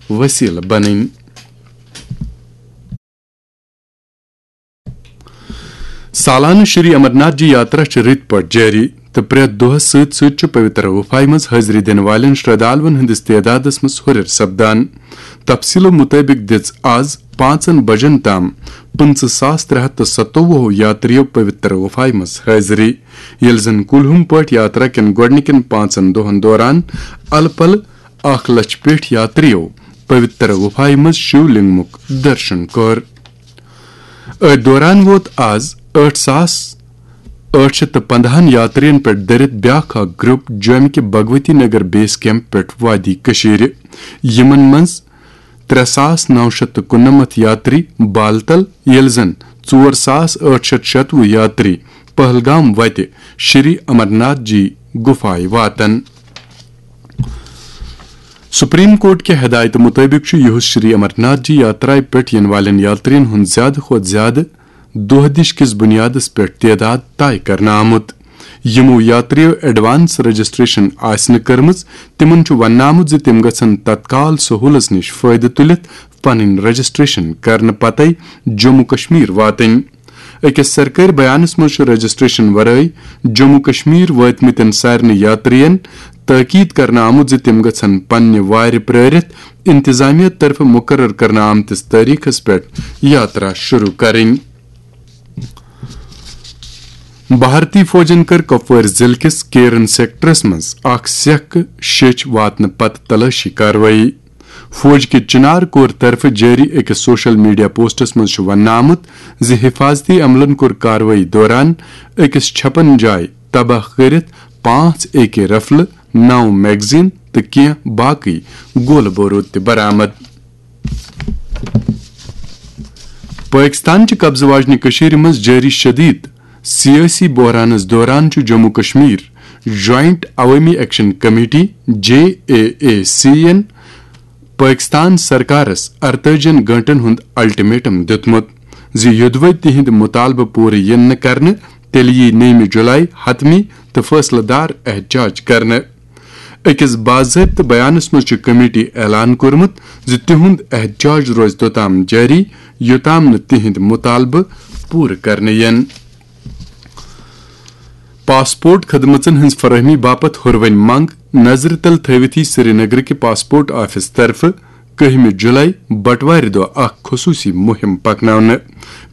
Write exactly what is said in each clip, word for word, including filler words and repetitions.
وسیلہٕ بنٕنۍ۔ سالانہٕ شری امرناتھ جی یاترا چھِ رٕتۍ پٲٹھۍ جٲری تہٕ پرٛٮ۪تھ دۄہَس سۭتۍ سۭتۍ چھُ پویتر گُفایہِ منٛز حٲضری دِنہٕ والٮ۪ن شردھالوَن ہٕنٛدِس تعدادَس منٛز ہُرٮ۪ر سپدان۔ تفصیٖلو مُطٲبِق دِژ آز پانٛژن بجن تام پٕنٛژٕہ ساس ترٛےٚ ہَتھ تہٕ ستووُہ یاترِیو پویتر گُفایہِ منٛز حٲضری، ییٚلہِ زن کُلہُم پٲٹھۍ یاترا کٮ۪ن گۄڈٕنِکٮ۪ن پانٛژن دۄہَن دوران الہٕ پلہٕ اکھ لچھ پیٹھ یاترِیو پویتر گُفایہِ منٛز شیو لنگمُک درشن کوٚر۔ أتھۍ دوران ووت آز ٲٹھ ساس ٲٹھ شیٚتھ تہٕ پنٛداہن یاترین پٮ۪ٹھ دٔرِتھ بیاکھ اکھ گروپ جومہِ کہِ بھگوتی نگر بیس کیمپ پٮ۪ٹھ وادی کٔشیٖرِ۔ یِمن منٛز ترٛےٚ ساس نو شیٚتھ تہٕ کُننَمتھ یاتری بالتل، ییٚلہِ زن ژور ساس ٲٹھ شیٚتھ شتوُہ یاتری پہلگام وتہِ شری امرناتھ جی گُفایہِ واتن۔ سپریم کورٹ کہِ ہدایتہٕ مُطٲبِق چھُ یُہُس شری امرناتھ جی یاترایہِ پٮ۪ٹھ یِنہٕ والٮ۪ن یاترین ہُنٛد زیادٕ کھۄتہٕ زیادٕ دۄہ دِش کِس بُنیادس پٮ۪ٹھ تعداد طے کرنہٕ آمُت۔ یِمو یاترِیو ایڈوانس رجسٹریشن آسہِ نہٕ کٔرمٕژ، تِمن چھُ وننہٕ آمُت زِ تِم گژھن تتکال سہولژ نِش فٲیدٕ تُلِتھ پنٕنۍ رجسٹریشن کرنہٕ پتے جموں کشمیر واتٕنۍ۔ أکِس سرکٲرۍ بیانس منٛز چھُ رجسٹریشن ورٲے جموں کشمیر وٲتمٕتٮ۪ن سارنٕے یاترین تٲکید کرنہٕ آمُت زِ تِم گژھن پننہِ وارِ پرٲرِتھ انتظامیہ طرفہٕ مقرر کرنہٕ آمتِس تٲریخس پٮ۪ٹھ یاترا شروع کرٕنۍ۔ بھارتی فوجن کٔر کپوٲرۍ ضلعہٕ کِس کیرن سیکٹرس منٛز اکھ سیکھ شیٚچھ واتنہٕ پتہٕ تلٲشی کاروٲیی۔ فوج کہِ چنار کور طرفہٕ جٲری أکِس سوشل میڈیا پوسٹس منٛز چھُ وننہٕ آمُت زِ حفاظتی عملن کوٚر کاروٲیی دوران أکِس چھپن جایہِ تباہ کٔرِتھ پانٛژھ اے کے رفلہٕ، نو میگزین تہٕ کینٛہہ باقٕے گولہٕ بوروٗد تہِ برآمد۔ پٲکِستان چہِ قبضہٕ واجنہِ کٔشیٖرِ منٛز جٲری شدیٖد سیٲسی بحرانس دوران چھُ جموں کشمیر جوائنٹ عوٲمی action committee, J A A C, ین پٲکِستان سرکارس ارتٲجِہن گٲنٛٹن ہُنٛد الٹیمیٹم دیُتمُت زِ یوٚدوَے تِہنٛدۍ مُطالبہٕ پوٗرٕ یِن نہٕ کرنہٕ، تیٚلہِ یِیہِ نٔیمہِ جُلای حتمی تہٕ فٲصلہٕ دار احتجاج کرنہٕ۔ أکِس باضٲبطہٕ بیانَس منٛز چھُ کمیٹی اعلان کوٚرمُت زِ تِہُنٛد احتجاج روزِ توٚتام جٲری، یوٚتام نہٕ تِہنٛدۍ مُطالبہٕ پوٗرٕ کرنہٕ یِن۔ پاسپورٹ خدمژن ہٕنٛز فراہمی باپتھ ہُروٕنۍ منٛگ نظرِ تل تھٲوِتھ یی سرینگرٕکہِ پاسپورٹ آفس طرفہٕ کٔہمہِ جُلای بٹوارِ دۄہ اکھ خصوٗصی مُہِم پکناونہٕ۔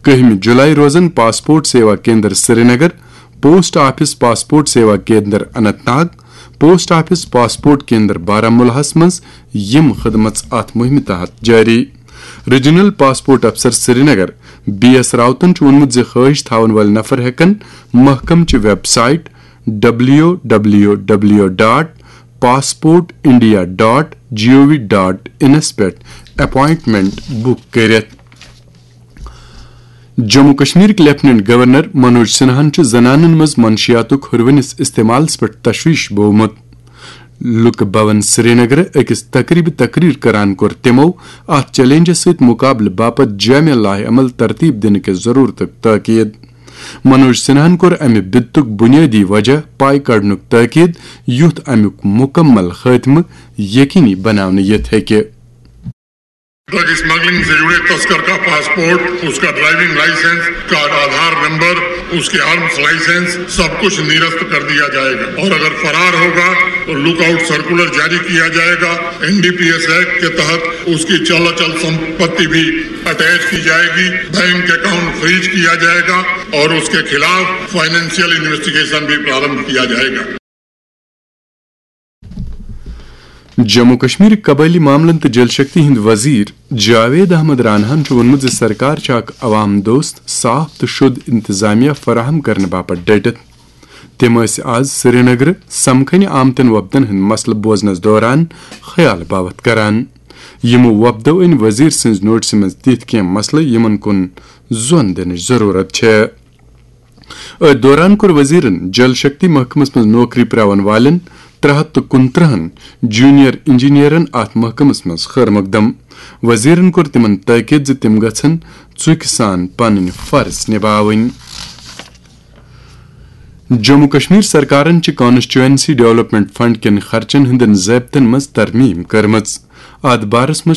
کٔہمہِ جُلای روزن passport Seva Kendra Srinagar, post office passport Seva Kendra Anant Nag, post office passport کیندر بارہمولہس منٛز یِم خدمژ اتھ مُہِمہِ تحت جٲری۔ ریجنل پاسپورٹ افسر سرینگر بی ایس راوتن چھُ ووٚنمُت زِ خٲہِش تھاون وٲلۍ نفر ہٮ۪کن محکمہٕ چہِ website W W W dot passport India dot G O V dot انس پٮ۪ٹھ اپوائنٹمنٹ بُک کٔرِتھ۔ جموں کشمیرٕکۍ لیفٹیننٹ گورنر منوج سنہاہن چھُ زنانن منٛز منشیاتُک ہُروٕنِس استعمالس پٮ۪ٹھ تشویش بوومُت۔ لُکہٕ بھون سرینگرٕ أکِس تقریبہِ تقریر کران کوٚر تِمو اتھ چیلنجس سۭتۍ مقابلہٕ باپتھ جامع لائحہ عمل ترتیب دِنہٕ کِس ضرورتُک تاکید۔ منوج سنہاہن کوٚر امہِ بدتُک بنیٲدی وجہ پاے کڑنُک تاکید، یُتھ امیُک مکمل خاتمہٕ یقینی بناونہٕ یِتھ ہیٚکہِ۔ ڈرگ اسمگلنگ سے جڑے تسکر کا پاسپورٹ، اس کا ڈرائیونگ لائسنس، اس کا آدھار نمبر، اس کے آرمز لائسنس، سب کچھ نرست کر دیا جائے گا اور اگر فرار ہوگا تو لک آؤٹ سرکولر جاری کیا جائے گا۔ N D P S act کے تحت اس کی چل اچل سمپتی بھی اٹیچ کی جائے گی، بینک اکاؤنٹ فریز کیا جائے گا اور اس کے خلاف فائنینشیل انویسٹیگیشن بھی پرارمبھ کیا جائے گا۔ جموں کشمیر قبٲئلی معاملن تہٕ جل شکتی ہٕنٛدۍ وزیر جاوید احمد راناہن چھُ ووٚنمُت زِ سرکار چھِ اکھ عوام دوست، صاف تہٕ شوٚد انتظامیہ فراہم کرنہٕ باپتھ ڈٔٹِتھ۔ تِم ٲسۍ آز سرینگرٕ سمکھنہِ آمتٮ۪ن وۄپدن ہٕنٛدۍ مسلہٕ بوزنس دوران خیال باوتھ کران۔ یِمو وۄپدو أنۍ وزیر سٕنٛز نوٹسہِ منٛز تِتھۍ کینٛہہ مسلہٕ، یِمن کُن زۄن دِنٕچ ضروٗرت چھےٚ۔ أتھۍ دوران کوٚر وزیرن جل شکتی محکمس منٛز نوکری پراون والٮ۪ن ترٛےٚ ہتھ تہٕ کُنترٕہن جونیئر انجینئرن اتھ محکمس منٛز خیر مقدم۔ وزیرن کوٚر تِمن تٲکید زِ تِم گژھن ژُکہِ سان پنٕنۍ فرض نباوٕنۍ۔ جموں کشمیر سرکارن چھِ کانسٹیچوئنسی ڈیولپمنٹ فنڈ کٮ۪ن خرچن ہٕنٛدٮ۪ن ضٲبطن منٛز ترمیم کٔرمٕژ۔ اتھ بارس منٛز